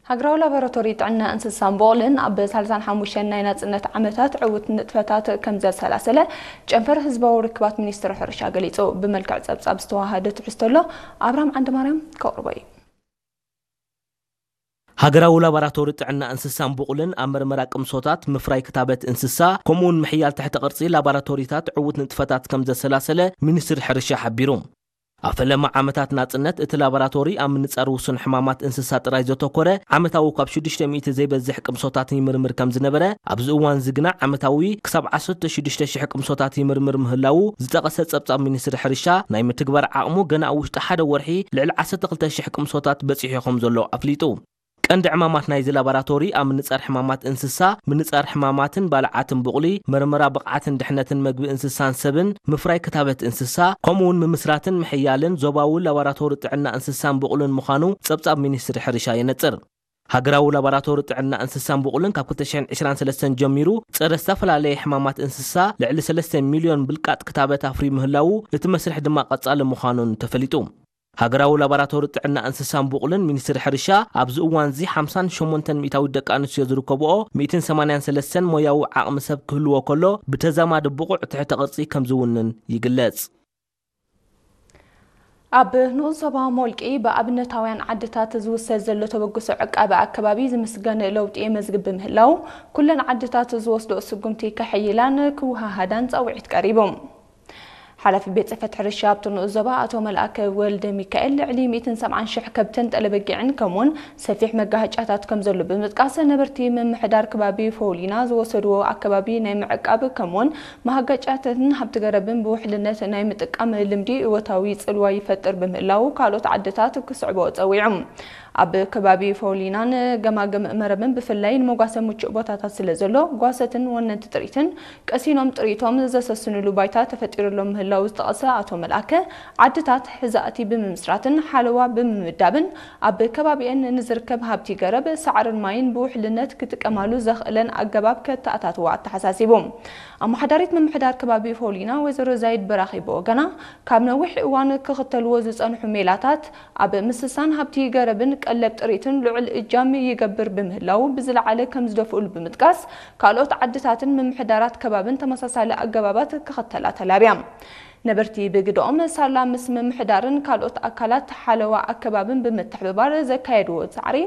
ሃገራዊ ላቦራቶሪ ጥዕና እንስሳን ቡቕልን ኣብ ሰላሳን ሓሙሽተን ናይ ናጽነት ዓመታት ዕዉት ንጥፈታት ከም ዘሰላሰለ ጨንፈር ህዝባዊ ርክባት ሚኒስትሪ ሕርሻ ገሊጹ። ብመልክዕ ጸብጻብ ዝተዋሃደ ትሕዝቶ ኣሎ። ኣብርሃም ዓንደማርያም ከቕርቦ እዩ። ሃገራዊ ላቦራቶሪ ጥዕና እንስሳን ቡቕልን ኣብ መርመራ ቅምሶታት፣ ምፍራይ ክታበት እንስሳ፣ ከምኡውን ምሕያል ትሕተ ቅርጺ ላቦራቶሪታት ዕዉት ንጥፈታት ከም ዘሰላሰለ ሚኒስትሪ ሕርሻ ሓቢሩ። ኣብ ፈለማ ዓመታት ናጽነት እቲ ላቦራቶሪ ኣብ ምንጻር ውሱን ሕማማት እንስሳ ጥራይ ዘተኮረ ዓመታዊ ካብ ሽዱሽተ ሚእቲ ዘይበዝሕ ቅምሶታት ይምርምር ከም ዝነበረ፣ ኣብዚ እዋን እዚ ግና ዓመታዊ ክሳብ ዓሰርተ ሽዱሽተ ሽሕ ቅምሶታት ይምርምር ምህላዉ ዝጠቐሰ ጸብጻብ ሚኒስትሪ ሕርሻ፣ ናይ ምትግባር ዓቕሙ ገና ኣብ ውሽጢ ሓደ ወርሒ ልዕሊ ዓሰርተ ክልተ ሽሕ ቅምሶታት በጺሑ ከም ዘሎ ኣፍሊጡ። ቀንዲ ዕማማት ናይዚ ላቦራቶሪ ኣብ ምንጻር ሕማማት እንስሳ፣ ምንጻር ሕማማትን ባልዓትን ቡቕሊ፣ መርመራ ብቕዓትን ድሕነትን መግቢ እንስሳን ሰብን፣ ምፍራይ ክታበት እንስሳ፣ ከምኡውን ምምስራትን ምሕያልን ዞባዊ ላቦራቶሪ ጥዕና እንስሳን ቡቕልን ምዃኑ ጸብጻብ ሚኒስትሪ ሕርሻ የነጽር። ሃገራዊ ላቦራቶሪ ጥዕና እንስሳን ቡቕልን ካብ ክልተ ሽሕን ዕስራን ሰለስተን ጀሚሩ ጸረ ዝተፈላለየ ሕማማት እንስሳ ልዕሊ ሰለስተ ሚልዮን ብልቃጥ ክታበት ኣፍርዩ ምህላዉ፣ እቲ መስርሕ ድማ ቀጻሊ ምዃኑን ተፈሊጡ። ሃገራዊ ላቦራቶሪ ጥዕና እንስሳን ቡቕልን ሚኒስትሪ ሕርሻ ኣብዚ እዋን እዚ ሓምሳን ሸሞንተን ሚእታዊት ደቂ ኣንስትዮ ዝርከብኦ ሚእትን ሰማንያን ሰለስተን ሞያዊ ዓቕሚ ሰብ ክህልዎ ከሎ፣ ብተዛማዲ ብቑዕ ትሕተ ቅርጺ ከም ዝውንን ይግለጽ። ኣብ ንኡስ ዞባ ሞልቂ ብኣብነታውያን ዓድታት ዝውሰድ ዘሎ ተበግሶ ዕቃበ ኣከባቢ ዝምስገን ለውጢ የመዝግብ ብምህላው፣ ኩለን ዓድታት ዝወስድኦ ስጉምቲ ከሐይላን ክወሃሃዳን ጻውዒት ቀሪቡ። ሓላፊ ቤት ጽሕፈት ሕርሻ ኣብቲ ንኡስ ዞባ ኣቶ መልኣከ ወልደ ሚካኤል፣ ልዕሊ ሚእትን ሰብዓን ሽሕ ከብትን ጠለበጊዕን ከምኡውን ሰፊሕ መጋሃጫታት ከም ዘሎ ብምጥቃስ፣ ነበርቲ ምምሕዳር ከባቢ ፎውሊና ዝወሰድዎ ኣከባቢ ናይ ምዕቃብ ከምኡውን መሃገጫትን ሃብቲ ገረብን ብውሕልነት ናይ ምጥቃም ልምዲ እወታዊ ጽልዋ ይፈጥር ብምህላው፣ ካልኦት ዓድታት ክስዕቦ ጸዊዑ። ኣብ ከባቢ ፎውሊናን ገማግም መረብን ብፍላይ ንመጓሰ ምቹእ ቦታታት ስለ ዘሎ፣ ጓሰትን ወነንቲ ጥሪትን ቀሲኖም ጥሪቶም ዘሰስንሉ ባይታ ተፈጢሩሎም ምህላው ዝጠቐሰ ኣቶ መልኣከ፣ ዓድታት ሕዛእቲ ብምምስራትን ሓለዋ ብምምዳብን ኣብ ከባቢኤን ንዝርከብ ሃብቲ ገረብ፣ ሳዕርን ማይን ብውሕልነት ክጥቀማሉ ዘኽእለን ኣገባብ ከተኣታትዋ ኣተሓሳሲቡ። ኣመሓዳሪት ምምሕዳር ከባቢ ፎውሊና ወይዘሮ ዛይድ በራኺ ብወገና፣ ካብ ነዊሕ እዋን ክኽተልዎ ዝጸንሑ ሜላታት ኣብ ምስሳን ሃብቲ ገረብን ቀለብ ጥሪትን ልዑል እጃም ይገብር ብምህላው ብዝለዓለ ከም ዝደፍኡሉ ብምጥቃስ፣ ካልኦት ዓድታትን ምምሕዳራት ከባብን ተመሳሳሊ ኣገባባት ክኽተላ ተላብያ። ነበርቲ ብግደኦም፣ ሳላ ምስ ምምሕዳርን ካልኦት ኣካላት ሓለዋ ኣከባብን ብምትሕብባር ዘካየድዎ ጻዕሪ፣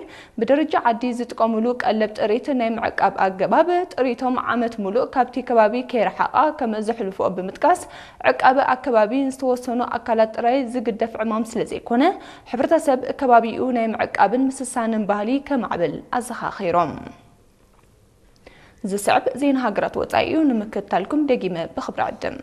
ብደረጃ ዓዲ ዝጥቀሙሉ ቀለብ ጥሪት ናይ ምዕቃብ ኣገባብ፣ ጥሪቶም ዓመት ሙሉእ ካብቲ ከባቢ ከይረሓቓ ከም ዘሕልፍኦ ብምጥቃስ፣ ዕቃበ ኣከባቢ ንዝተወሰኑ ኣካላት ጥራይ ዝግደፍ ዕማም ስለ ዘይኮነ፣ ሕብረተሰብ ከባቢኡ ናይ ምዕቃብን ምስሳንን ባህሊ ከማዕብል ኣዘኻኺሮም። ዝስዕብ ዜና ሃገራት ወጻኢ እዩ፣ ንምክትታልኩም ደጊመ ብኽብሪ ዕድም።